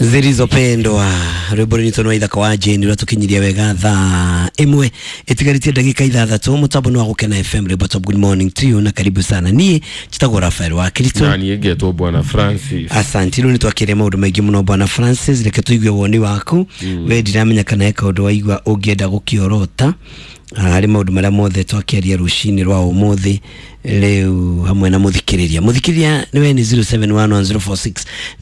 Zilizopendwa rwimbo rwitũ nwa ithaka wa Jane rwa tukinyiria wega thaa imwe itigarĩtie ndagĩka ithathatũ mũtambo nĩ wa Gũkena FM rwimbo top. Good morning to you na karibu sana. Niĩ njĩtagwo Rafael wa Kristo na niĩ ngetwo Bwana Francis. Asante. Rĩu nĩtwakĩria maũndũ maingĩ mũno Bwana Francis, reke tũigue woni waku. We ndiramenya kana he kaũndũ waigua ũngĩenda gũkĩorota harĩ maũndũ marĩa mothe twakĩaria rũcinĩ rwa ũmũthĩ rĩu hamwe na mũthikĩrĩria. Mũthikĩrĩria nĩwe nĩ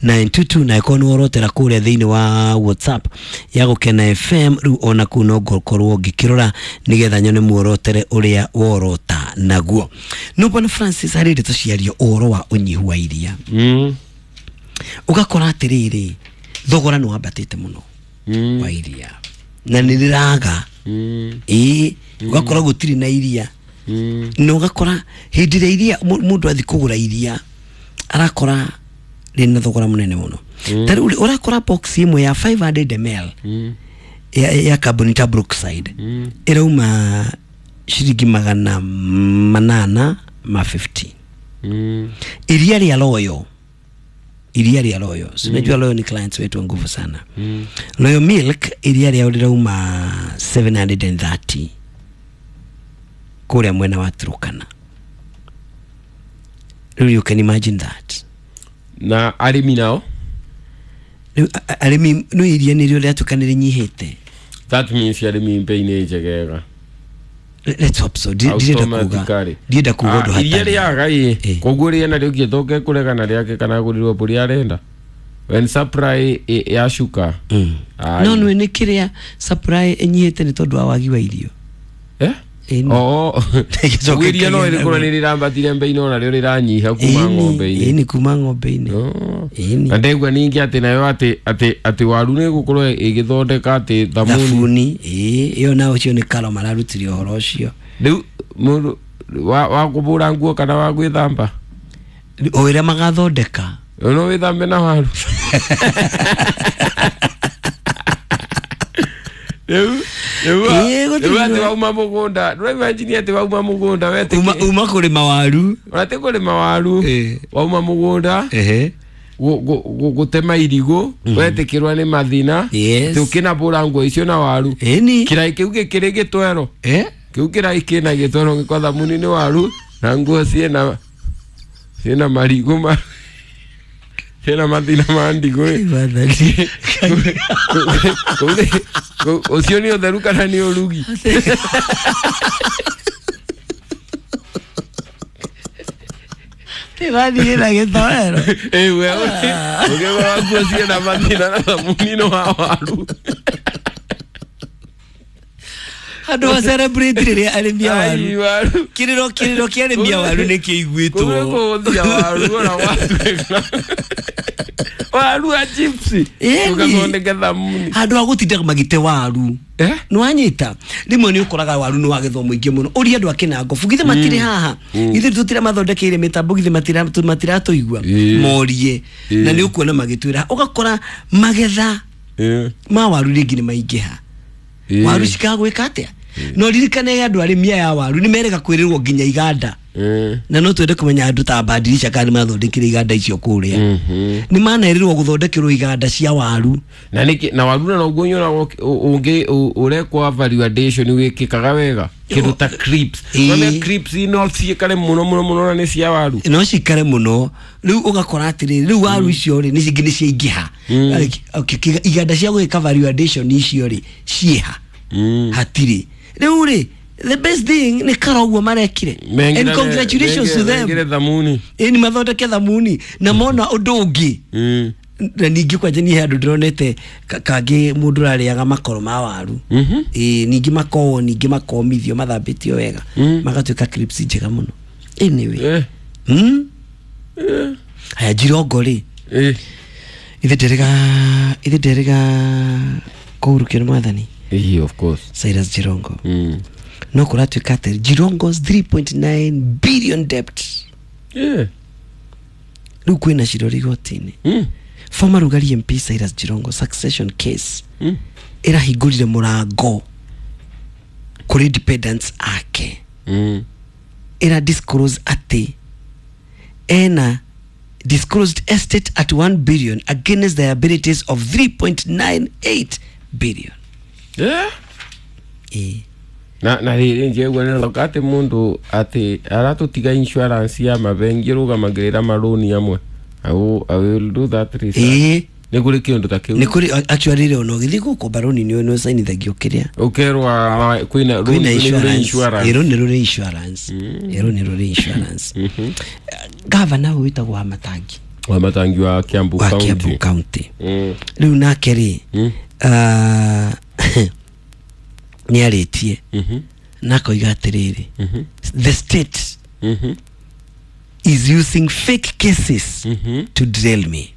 0711046922 na ĩkorwo nĩ worotera kũrĩa thĩinĩ wa WhatsApp ya Gũkena FM rĩu ona kũu no ngũkorwo ngĩkĩrora nĩgetha nyone muorotere ũrĩa worota naguo. No Bwana Francis, harĩ ndeto ciario ũhoro wa ũnyihu wa iria. Ũgakora atĩrĩrĩ, thogora nĩ wambatĩte mũno wa iria na nĩ rĩraga. Ĩĩ, ũgakora gũtirĩ na iria. Na ũgakora hĩndĩ ĩrĩa iria mũndũ athiĩ kũgũra iria arakora rĩna thogora mũnene mũno. Ta rĩu ũrakora box ĩmwe ya 500 ml ya kambuni ta Brookside ĩrauma ciringi 850. Iria rĩa Royal, iria rĩa Royal, si unajua Royal ni clients wetu wa nguvu sana. Royal Milk iria rĩao rĩrauma 730 kũrĩa mwena wa Turkana. Rĩu you can imagine that. Na arĩmi nao? Rĩu arĩmi no iria nĩrĩo rĩatuĩka nĩ rĩnyihĩte. That means arĩmi mbei nĩ njegega. Let's hope so. Ndirenda kuga, Automatically. ndirenda kuga ũndũ Iria hatarĩ. rĩaga ĩ, koguo rĩena rĩũkĩte kũregana rĩake kana agũrirwo mbũri arenda when supply yacuka. No nĩ nĩ kĩrĩa supply ĩnyihĩte nĩ tondũ wa wagi wa irio. Eh? Ĩni. Oo. Gĩcoke Iria no kĩgĩe rĩkorwo nĩ rĩrambatire mbei no narĩo rĩranyiha kuma ng'ombe-inĩ. Ĩni, kuma ng'ombe-inĩ. Ĩni. Na ndegua ningĩ atĩ nayo atĩ atĩ atĩ waru nĩ gũkorwo ĩgĩthondeka atĩ thamuni. Thabuni, ĩĩ, ĩyo nao ũcio nĩ Karo mararutire ũhoro ũcio. Rĩu mũndũ wa kũbũra nguo kana wa gwĩthamba? O ĩrĩa magathondeka. No wĩthambe na waru. Rĩu rĩu Ĩĩ, gũtirĩ rĩu atĩ wauma mũgũnda, ndũraimagine atĩ wauma mũgũnda wetĩkie. Uma kũrĩma waru. Ona ti kũrĩma waru. Wauma mũgũnda Ehe. gũtema irigũ wetĩkĩrwo nĩ mathina. Yes. Atĩ ũkĩnabũra nguo icio na waru. Ĩni. Kĩrai kĩu gĩkĩrĩ gĩtwero. Eh? Kĩu kĩrai kĩna gĩtwero gĩkwa thamuni nĩ waru na nguo ciĩna ciĩna marigũ ma ciĩna mathina ma ndigũ ĩ. Wathani. Ũcio nĩ ũtheru kana nĩ ũrugi? Tĩrathiĩ na gĩtoero. Ĩ we ũkĩgũra nguo ciĩna mathina na thamuni nĩ wa waru. Andũ a celebrate rĩrĩa arĩmi a waru. Ai, waru. Kĩrĩro kĩrĩro kĩa arĩmi a waru nĩ kĩiguĩtwo. Kũu kũhũthia waru ona watuĩka waru a chips Ĩni. ũgathondeka thamuni. Handũ ha gũtinda magĩte waru. Eh? Nĩwanyita rĩmwe nĩ ũkoraga waru nĩ wagethwo mũingĩ mũno ũria andũ a Kĩnangobu githĩ matirĩ haha, githĩ tũtiramathondekeire mĩtambo, githĩ matiratũigua morie, na nĩ ũkuona magĩtwĩra ũgakora magetha ma waru rĩngĩ nĩ maingĩha. Waru cikagwĩka atĩa? No ririkane andũ arĩmi aya a waru nĩ merega kwĩrĩrwo nginya iganda. Na no twende kũmenya andũ ta Badirisha kana nĩ mathondekire iganda icio kũrĩa. Nĩ manerirwo gũthondekerwo iganda cia waru. Na nĩkĩ na waru na noguo nyonaga ũngĩ ũrekwo value addition wĩkĩkaga wega kĩndũ ta crisps. None crisps no ciĩkare mũno mũno mũno na nĩ cia waru. No cikare mũno. Rĩu ũgakora atĩrĩrĩ, rĩu waru icio rĩ nĩ cingĩ nĩ ciaingĩha. Okay, iganda cia gwĩka value addition icio rĩ ciĩha? Hatirĩ. Rĩu rĩ the best thing nĩ Karo ũguo marekire. And congratulations to them. Mengire thamuni. Ĩni mathondeke thamuni na mona ũndũ ũngĩ. Na ningĩ kwanja niĩ he handũ ndĩronete kangĩ mũndũ ũrarĩaga makoro ma waru. Ĩĩ, ningĩ makowo, ningĩ makomithio mathambĩtio wega magatuĩka crisps njega mũno. Anyway. Haya Jirongo rĩ. Ithe nderega, ithe nderega kũhurũkio nĩ mwathani. Ĩĩ, of course. Cyrus Jirongo. No kũratuĩka atĩ Jirongo's 3.9 billion debt. Rĩu kwĩna cirori igoti-inĩ. Former Rugari MP Cyrus Jirongo succession case ĩrahingũrire mũrango kũrĩ dependents ake. Ĩra disclose atĩ ena Disclosed estate at 1 billion against the liabilities of 3.98 billion. Yeah. Eh. Na rĩrĩ njegua nĩ atĩ mũndũ atĩ aratũtiga insurance ya mabengi rũgamagĩrĩra marũni amwe. I will do that research. Eh. Nĩ kũrĩ kĩũndũ ta kĩu. Nĩ kũrĩ actually rĩ ona ũgĩthiĩ gũkomba rũni nĩ ũcainithagio kĩrĩa. Ũkerwa kwĩna rũni insurance. Ĩrũ nĩ rũrĩ insurance. Ĩrũ nĩ rũrĩ insurance. Gavana ũyũ wĩtagwo Wamatangi. Wamatangi wa Kiambu County. Wa Kiambu County. Rĩu nake rĩ nĩ arĩtie na akoiga atĩrĩrĩ, the state is using fake cases to drill me.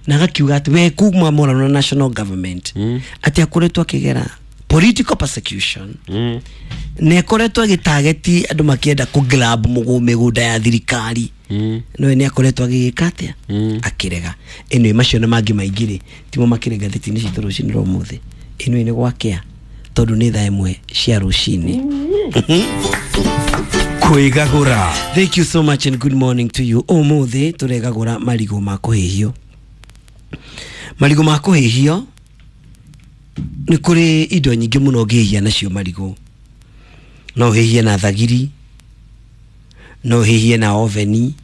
Na agakiuga atĩ we kuma morano na national government atĩ akoretwo akĩgera political persecution nĩ akoretwo agĩtageti andũ makĩenda kũ grab mĩgũnda ya thirikari. No nĩ akoretwo agĩgĩka atĩa akĩrega. Ĩno macio na mangĩ maingĩ rĩ timo makĩrĩ ngathĩti-inĩ citũ rũcinĩ rwa ũmũthĩ. Ĩno nĩ gwakĩa tondũ nĩ thaa 1 cia rũcinĩ. Kwĩgagũra. Thank you so much and good morning to you. Ũmũthĩ tũregagũra marigũ ma kũhĩhio. Marigũ ma kũhĩhio nĩ kũrĩ indo nyingĩ mũno ũngĩhĩhia nacio marigũ. No ũhĩhie na thagiri, no ũhĩhie na oveni,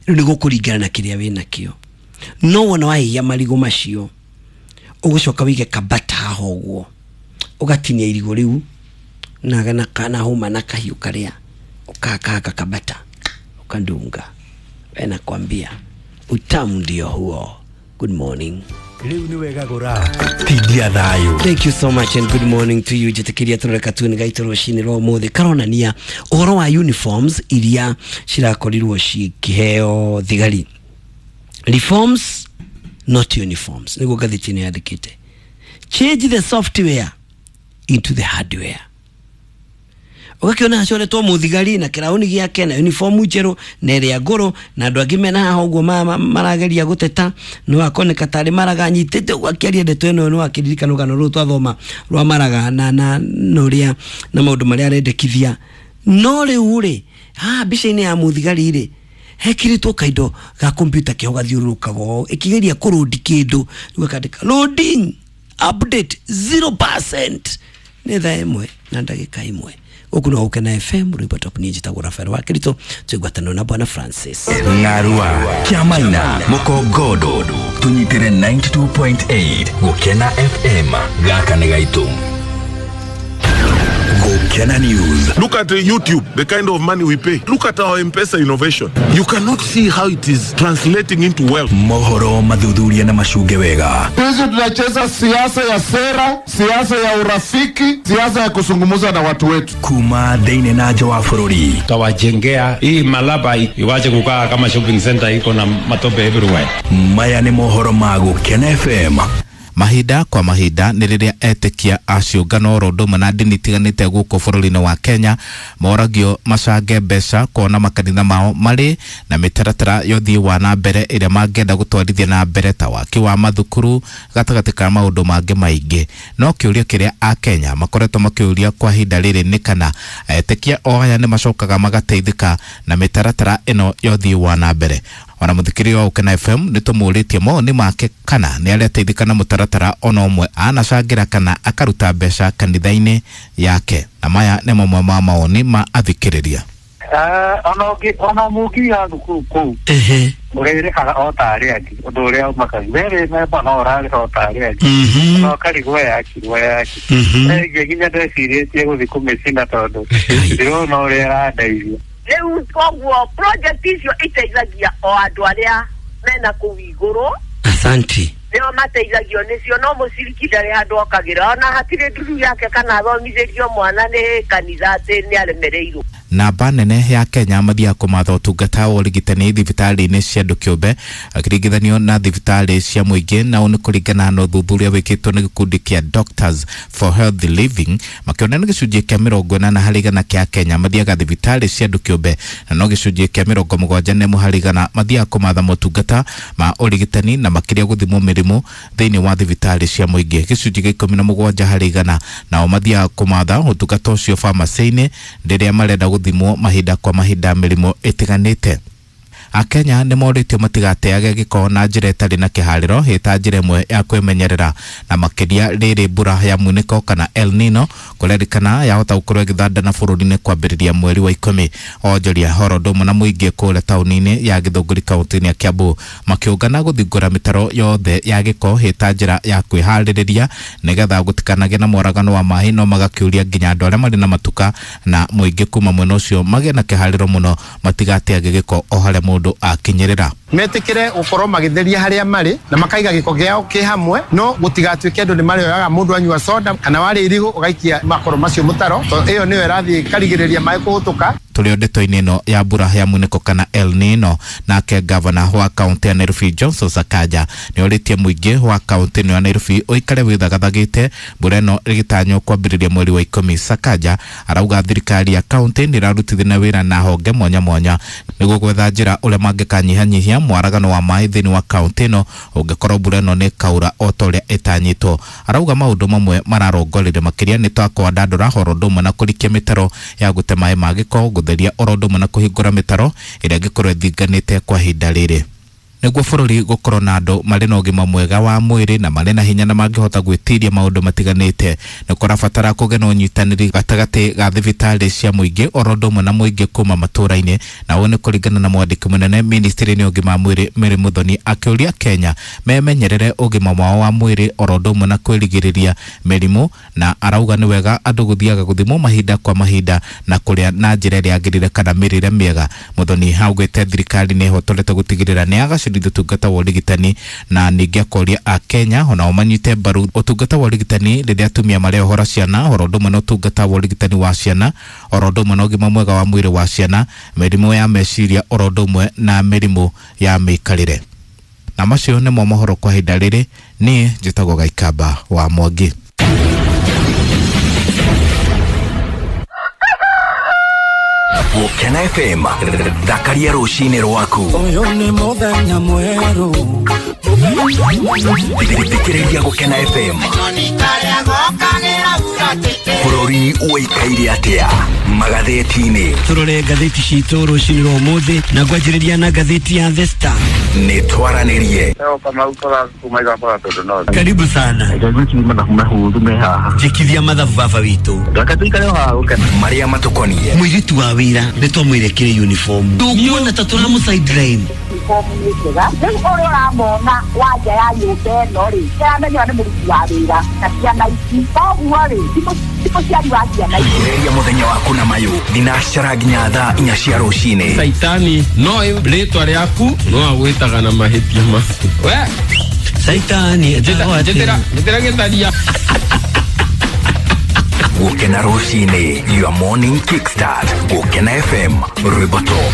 rĩu nĩ gũkũringana na kĩrĩa wĩnakĩo. No wona wahĩhia marigũ macio ũgũcoka wĩige kabata haha ũguo, ũgatinia irigũ rĩu na hũma na kahiũ karĩa ukakaka kabata ukandunga. We nakwambia utamu ndio huo. Good morning. Rĩu nĩ wegagũra tindia thayũ. Thank you so much and good morning to you. Njĩtĩkĩria tũrore katuni gaitũ rũcinĩ rwa ũmũthĩ karonania ũhoro wa uniforms iria cirakorirwo cikĩheo thigari. Reforms not uniforms nĩguo ngathĩti ĩno yandĩkĩte. Change the software into the hardware. Ũgakĩona acoretwo mũthigari na kĩraũni gĩake na uniform njerũ na ĩrĩa ngũrũ na andũ angĩ mena haha ũguo marageria gũteta no akoneka tarĩ Maraga anyitĩte ũguo akĩaria ndeto ĩno no akĩririkana rũgano rũrũ twathoma rwa Maraga na ũrĩa na maũndũ marĩa arendekithia. No rĩu rĩ haha mbica-inĩ ya mũthigari rĩ hekĩrĩtwo kaindo ga kompyuta kĩho gathiũrũrũkaga ũũ ĩkĩgeria kũrũndi kĩndũ rĩu akandĩka loading update 0%. Nĩ thaa 1 na ndagĩka 1. Gũkũ no Gũkena FM rwĩmbo top ni njĩtagwo Rafael wa Kirito twĩgwatanĩro na Bwana Francis. Ng'arua Kĩamaina Mũkongondo tũnyitĩre 92.8 Gũkena FM gaka nĩ gaitũ. Gũkena News. Look at YouTube, the kind of money we pay. Look at our M-Pesa innovation. You cannot see how it is translating into wealth. Mohoro mathuthuria na macunge wega. Sisi tunacheza siasa ya sera, siasa ya urafiki, siasa ya kuzungumza na watu wetu. Kuma thĩinĩ na nja wa bũrũri. Tutawajengea hii Malaba iwache kukaa kama shopping center iko na matope everywhere. Maya nĩ mohoro ma Gũkena FM. Mahinda kwa mahinda nĩ rĩrĩa etĩkia a ciũngano oro ũndũ ũmwe na ndini itiganĩte gũkũ bũrũri-inĩ wa Kenya moragio macange mbeca kuona makanitha mao marĩ na mĩtaratara ya ũthii wa na mbere ĩrĩa mangĩenda gũtwarithia na mbere ta waki wa mathukuru gatagatĩ ka maũndũ mangĩ maingĩ. No kĩũria kĩrĩa a Kenya makoretwo makĩũria kwa ihinda rĩrĩ nĩ kana etĩkia o aya nĩ macokaga magateithĩka na mĩtaratara ĩno ya ũthii wa na mbere. Ona mũthikĩria wa Gũkena FM nĩ tũmũrĩtie mawoni make kana nĩ areteithĩka na mũtaratara ona ũmwe anacangĩra kana akaruta mbeca kanitha-inĩ yake. Na maya nĩ mamwe ma mawoni ma athikĩrĩria. Ona mũnginya thukuru kũu ũrĩrĩhaga o ta arĩa angĩ ũndũ ũrĩa ũmakagia we rĩ memba no ũrarĩha o ta arĩa angĩ no ũkarigwo yakirwo yaki ĩngĩ nginya ndecirĩtie gũthiĩ kũmĩcina tondũ ndĩrona ũrĩa ĩrandeithia. Rĩu koguo project icio iteithagia o andũ arĩa mena kũu igũrũ. Asante. Nĩo mateithagio nĩcio no mũciriki ndarĩ handũ okagĩra ona hatirĩ nduru yake kana athomithĩrio mwana nĩ kanitha atĩ nĩ aremereirwo. Namba nene ya Kenya mathiaga kũmatha ũtungata wa ũrigitani thibitarĩ-inĩ cia andũ kĩũmbe akĩringithanio na thibitarĩ cia mũingĩ, na ũũ nĩ kũringana na ũthuthuria wĩkĩtwo nĩ gĩkundi kĩa Doctors for Healthy Living makĩona nĩ gĩcunjĩ kĩa 80 harĩ igana kĩa Kenya mathiaga thibitarĩ cia andũ kĩũmbe na no gĩcunjĩ kĩa 71 harĩ igana mathiaga kũmatha motungata ma ũrigitani na makĩria gũthimwo mĩrimũ thĩinĩ wa thibitarĩ cia mũingĩ. Gĩcunjĩ kĩa 17 harĩ igana nao mathiaga kũmatha ũtungata ũcio pharmacy-inĩ rĩrĩa marenda gũthimwo mahinda kwa mahinda mĩrimũ ĩtiganĩte. Akenya nĩ morĩtio matigateage gĩko na njĩra ĩtarĩ na kĩharĩro ĩta njĩra ĩmwe ya kwĩmenyerera, na makĩria rĩrĩ mbura ya munĩko kana El Nino kũrerĩkana yahota gũkorwo ĩgĩthandana bũrũri-inĩ kwambĩrĩria mweri wa 10. Onjoria oro ũndũ ũmwe na mũingĩ kũrĩa taũni-inĩ ya Gĩthũngũri kaũntĩ-inĩ ya Kiambu makĩũngana gũthingũra mĩtaro yothe ya gĩko ĩta njĩra ya kwĩharĩrĩria nĩgetha gũtikanagĩe na moragano wa maĩ, no magakĩũria nginya andũ arĩa marĩ na matuka na mũingĩ kuma mwena ũcio magĩe na kĩharĩro mũno matigateage gĩko o harĩa mũndũ akinyĩrĩra. Metikire gukorwo magitheria haria mari na makaiga giko giao ki hamwe, no gutigatuike andu ni marioyaga mundu anyua soda kana wari irigu ugaikia makoro macio mutaro, to iyo niyo irathie karigiriria mai kuhutuka. Tũrĩ ndeto-inĩ ĩno ya mbura ya munĩko kana El Nino, nake gavana wa kaunti ya Nairobi Johnson Sakaja nĩ orĩtie mũingĩ wa kaunti ĩno ya Nairobi ũikare wĩthagathagĩte mbura ĩno ĩgĩtanywo kwambĩrĩria mweri wa 10. Sakaja arauga thirikari ya kaunti nĩ ĩrarutithania wĩra na honge mwanya mwanya nĩguo gwetha njĩra ũrĩa mangĩkanyihanyihia mwaragano wa maĩ thĩinĩ wa kaunti ĩno ũngĩkorwo mbura ĩno nĩ ĩkaura o ta ũrĩa ĩtanyĩtwo. Arauga maũndũ mamwe mararongorerio makĩria nĩ ta kwandandũra horo ũndũ ũmwe na kũrikia mĩtaro ya gũte maĩ ma gĩko, gũtheria oro ũndũ ũmwe na kũhingũra mĩtaro ĩrĩa ĩngĩkorwo ĩthinganĩte kwa ihinda rĩrĩ. Nĩguo bũrũri gũkorwo na andũ marĩ na ũgima mwega wa mwĩrĩ na marĩ na hinya na mangĩhota gwĩtiria maũndũ matiganĩte, nĩ kũrabatara kũgĩa na ũnyitanĩri gatagatĩ ga thibitarĩ cia mũingĩ oro ũndũ ũmwe na mũingĩ kuma matũũra-inĩ, na ũũ nĩ kũringana na mwandĩki mũnene ministry-inĩ ya ũgima wa mwĩrĩ Mary Muthoni akĩũria Kenya memenyerere ũgima wao wa mwĩrĩ oro ũndũ ũmwe na kwĩrigĩrĩria mĩrimũ, na arauga nĩ wega andũ gũthiaga gũthimwo mahinda kwa mahinda na kũrĩa na njĩra ĩrĩa yagĩrĩire kana mĩrĩre mĩega. Muthoni augĩte thirikari nĩ ĩhotorete gũtigĩrĩra nĩ yagacĩrithia ũtungata wa ũrigitani, na ningĩ akoria a Kenya onao manyite mbaru ũtungata wa ũrigitani rĩrĩa atumia mareohora ciana oro ũndũ ũmwe na ũtungata wa ũrigitani wa ciana oro ũndũ ũmwe na ũgima mwega wa mwĩrĩ wa ciana, mĩrimũ ya meciria oro ũndũ ũmwe na mĩrimũ ya mĩikarĩre. Na macio nĩmo mohoro kwa ihinda rĩrĩ. Niĩ njĩtagwo Gaikamba wa Mwangi. Gũkena FM, thakaria rũcinĩ rwaku. Ũyũ nĩ mũthenya mwerũ. Thikĩrĩria Gũkena FM. Bũrũri ũikaire atĩa magathĩti-inĩ? Tũrore ngathĩti citũ rũcinĩ rwa ũmũthĩ na ngwanjĩrĩria na ngathĩti ya The Star. Nĩ twaranĩrie. Karibu sana. Njĩkithia mathabu baba witũ. Marĩa matũkoniĩ. Mũirĩtu wa wĩra nĩ twamwĩre kĩrĩ uniform. Tũkuona ta tũramũ sideline. Uniform nĩ njega. Rĩu ũrĩa ũramona wa nja ya nyũmba ĩno rĩ, nĩaramenya nĩ mũruti wa wĩra na ciana ici. Koguo rĩ, ti mũciari wa ciana ici. Ambĩrĩria mũthenya waku na mayũ thinacara nginya thaa 4 cia rũcinĩ. Saitani no rĩtwa rĩaku no agwĩtaga na mahĩtia maku. We Saitani njĩtĩra gĩtharia. Gũkena rũcinĩ, your morning kickstart. Gũkena FM, rwĩmbo top.